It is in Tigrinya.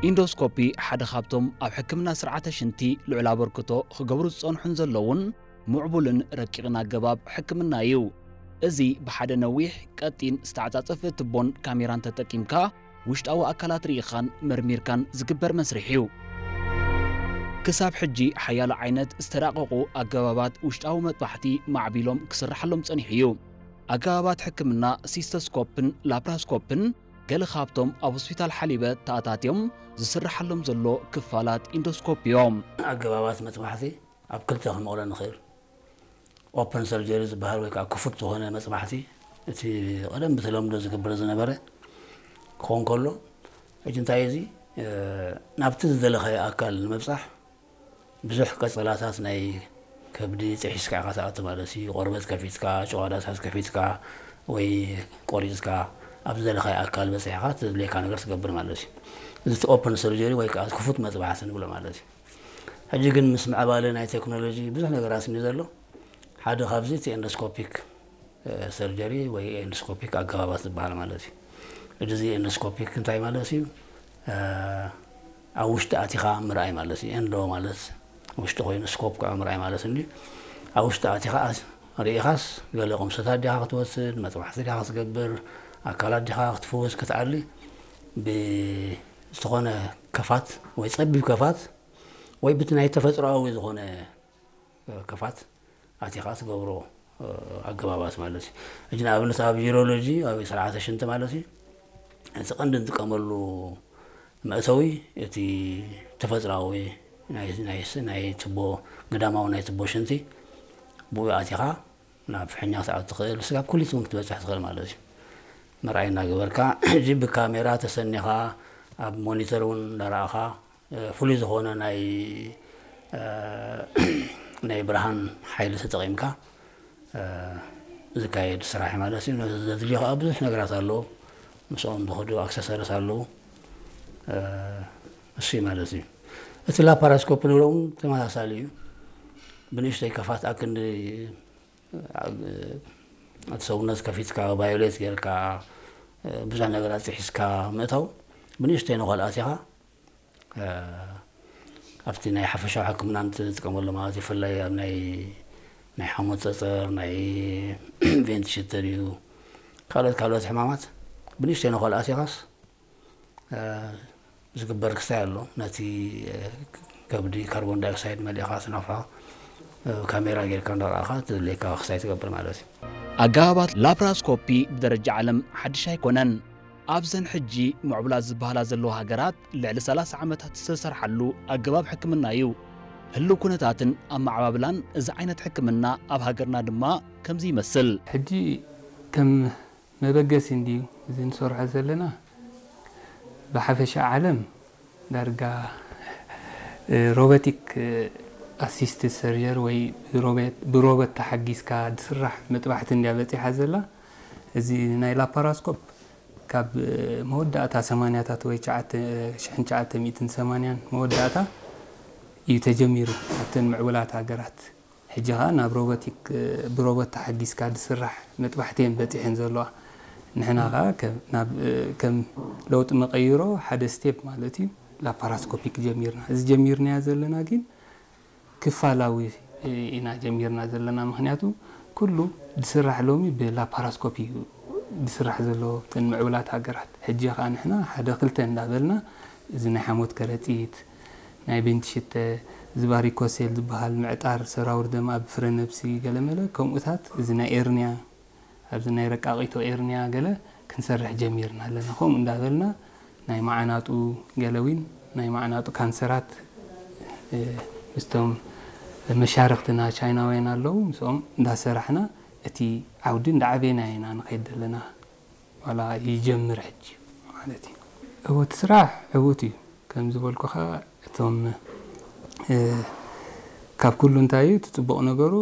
ኢንዶስኮፒ ሓደ ካብቶም ኣብ ሕክምና ስርዓተ ሽንቲ ልዑል ኣበርክቶ ክገብሩ ዝጸንሑን ዘለውን ምዕቡልን ረቂቕን ኣገባብ ሕክምና እዩ። እዚ ብሓደ ነዊሕ፣ ቀጢን፣ ዝተዓጻጸፈ ቱቦን ካሜራን ተጠቂምካ ውሽጣዊ ኣካላት ርኢኻን መርሚርካን ዝግበር መስርሕ እዩ። ክሳብ ሕጂ ሓያሎ ዓይነት ዝተራቐቑ ኣገባባት ውሽጣዊ መጥባሕቲ ማዕቢሎም ክስርሓሎም ጸኒሑ እዩ። ኣገባባት ሕክምና ሲስተስኮፕን ላፕራስኮፕን ገለ ካብቶም ኣብ ሆስፒታል ሓሊበ ተኣታትዮም ዝስርሓሎም ዘሎ ክፋላት ኢንዶስኮፕ እዮም። ኣገባባት መጥባሕቲ ኣብ ክልተ ክንመቕሎ ንኽእል። ኦፐን ሰርጀሪ ዝበሃል ወይ ከዓ ክፉት ዝኾነ መፅባሕቲ፣ እቲ ቀደም ብተለምዶ ዝግበር ዝነበረ ክኾን ከሎ፣ ሕጂ እንታይ እዚ ናብቲ ዝደለኻዮ ኣካል ንምብፃሕ ብዙሕ ቀፀላታት ናይ ከብዲ ጥሒስካ ኢኻ ትኣቱ ማለት እዩ። ቆርበት ከፊትካ፣ ጨዋዳታት ከፊትካ ወይ ቆሪፅካ ኣብ ዝደለኻዮ ኣካል በፂሕኻ እቲ ዘድልየካ ነገር ትገብር ማለት እዩ። እዚ ኦፐን ሰርጀሪ ወይ ከዓ ክፉት መፅባሕቲ ንብሎ ማለት እዩ። ሕጂ ግን ምስ ምዕባለ ናይ ቴክኖሎጂ ብዙሕ ነገራት እዩ ዘሎ። ሓደ ካብዚ እቲ ኤንዶስኮፒክ ሰርጀሪ ወይ ኤንዶስኮፒክ ኣገባባት ዝበሃል ማለት እዩ። እዚ ኤንዶስኮፒክ እንታይ ማለት እዩ? ኣብ ውሽጢ ኣቲኻ ምርኣይ ማለት እዩ። ኤንዶ ማለት ውሽጢ ኮይኑ ስኮፕ ከዓ ምርኣይ ማለት እንዲ ኣብ ውሽጢ ኣቲኻ ርኢኻስ ገለ ቁምሰታት ዲኻ ክትወስድ፣ መጥባሕቲ ዲኻ ክትገብር፣ ኣካላት ዲኻ ክትፍውስ ክትኣሊ ብዝኾነ ከፋት ወይ ፀቢብ ከፋት ወይ ብቲ ናይ ተፈጥሮኣዊ ዝኾነ ከፋት ኣቲኻ ትገብሮ ኣገባባት ማለት እዩ። ሕጂ ንኣብነት ኣብ ዩሮሎጂ ኣብ ስርዓተ ሽንቲ ማለት እዩ እቲ ቀንዲ እንጥቀመሉ መእተዊ እቲ ተፈጥሮኣዊ ናይ ቱቦ ግዳማዊ ናይ ቱቦ ሽንቲ ብኡ ኣቲኻ ናብ ፍሕኛ ክትኣቱ ትኽእል፣ ስጋብ ኩሊት እውን ክትበፅሕ ትኽእል ማለት እዩ። መርኣይ እናገበርካ ሕጂ ብካሜራ ተሰኒኻ ኣብ ሞኒተር እውን እንዳረኣኻ ፍሉይ ዝኾነ ናይ ናይ ብርሃን ሓይሊ ተጠቒምካ ዝካየድ ስራሕ ማለት እዩ። ነዚ ዘድልዮ ከዓ ብዙሕ ነገራት ኣለዎ። ምስኦም ዝኸዱ ኣክሰሰሪስ ኣለዉ። እሱ ማለት እዩ። እቲ ላፓራስኮፕ ንብሎ እውን ተመሳሳሊ እዩ። ብንእሽተይ ከፋት ኣክንዲ እቲ ሰውነት ከፊትካ ቫዮሌት ጌርካ ብዙሕ ነገራት ጥሒስካ ምእታው ብንእሽተይ ንኸልኣት ኢኻ ኣብቲ ናይ ሓፈሻዊ ሕክምና እንትጥቀመሉ ማለት ይፍላይ ኣብ ናይ ናይ ሓሞት ፀፀር ናይ ቬንት ሽተር እዩ ካልኦት ካልኦት ሕማማት ብንእሽተይ ንኸልኣት ኢኻስ ዝግበር ክሳይ ኣሎ ነቲ ከብዲ ካርቦን ዳይኦክሳይድ መሊእኻ ስናፋ ካሜራ ጌርካ እንዳረኣኻ ትድልየካ ክሳይ ትገብር ማለት እዩ። ኣገባባት ላፕራስኮፒ ብደረጃ ዓለም ሓድሽ ኣይኮነን። ኣብዘን ሕጂ ምዕቡላት ዝበሃላ ዘለዋ ሃገራት ልዕሊ ሰላሳ ዓመታት ዝተሰርሓሉ ኣገባብ ሕክምና እዩ። ህልው ኩነታትን ኣመዓባብላን እዚ ዓይነት ሕክምና ኣብ ሃገርና ድማ ከምዚ ይመስል። ሕጂ ከም መበገሲ እንድዩ እዚ ንሰርሖ ዘለና። ብሓፈሻ ዓለም ዳርጋ ሮቦቲክ ኣሲስትድ ሰርጀሪ ወይ ብሮበት ተሓጊዝካ ዝስራሕ መጥባሕቲ እንድያ በፂሓ ዘላ። እዚ ናይ ላፓራስኮፕ ካብ መወዳእታ ሰማንያታት ወይ ሽሕን ትሽዓተ ሚእትን ሰማንያን መወዳእታ እዩ ተጀሚሩ ኣብተን ምዕቡላት ሃገራት። ሕጂ ኸዓ ናብ ሮቦቲክ ብሮቦት ተሓጊዝካ ዝስራሕ መጥባሕቲ እየን በፂሐን ዘለዋ። ንሕና ኸዓ ከም ለውጢ መቐይሮ ሓደ ስቴፕ ማለት እዩ ላፓራስኮፒክ ጀሚርና። እዚ ጀሚርናዮ ዘለና ግን ክፋላዊ ኢና ጀሚርና ዘለና። ምኽንያቱ ኩሉ ዝስራሕ ሎሚ ብላፓራስኮፕ እዩ ዝስራሕ ዘሎ እተን ምዕቡላት ሃገራት። ሕጂ ኸዓ ንሕና ሓደ ክልተ እንዳበልና እዚ ናይ ሓሞት ከረጢት፣ ናይ ቤንት ሽተ፣ እዚ ቫሪኮሴል ዝበሃል ምዕጣር ሰራውር ደም ኣብ ፍረ ነብሲ ገለመለ ከምኡታት እዚ ናይ ኤርንያ ኣብዚ ናይ ረቃቂቶ ኤርንያ ገለ ክንሰርሕ ጀሚርና ኣለና። ከምኡ እንዳበልና ናይ መዓናጡ ገለ እውን ናይ መዓናጡ ካንሰራት ምስቶም መሻርክትና ቻይናውያን ኣለዉ ምስኦም እንዳሰራሕና እቲ ዓውዲ እንዳዓበና ኢና ንኸይድ ዘለና። ዋላ ይጀምር ሕጂ ማለት እዩ። እወ እቲ ስራሕ ዕውት እዩ። ከም ዝበልኩኻ እቶም ካብ ኩሉ እንታይ እዩ እቲ ፅቡቕ ነገሩ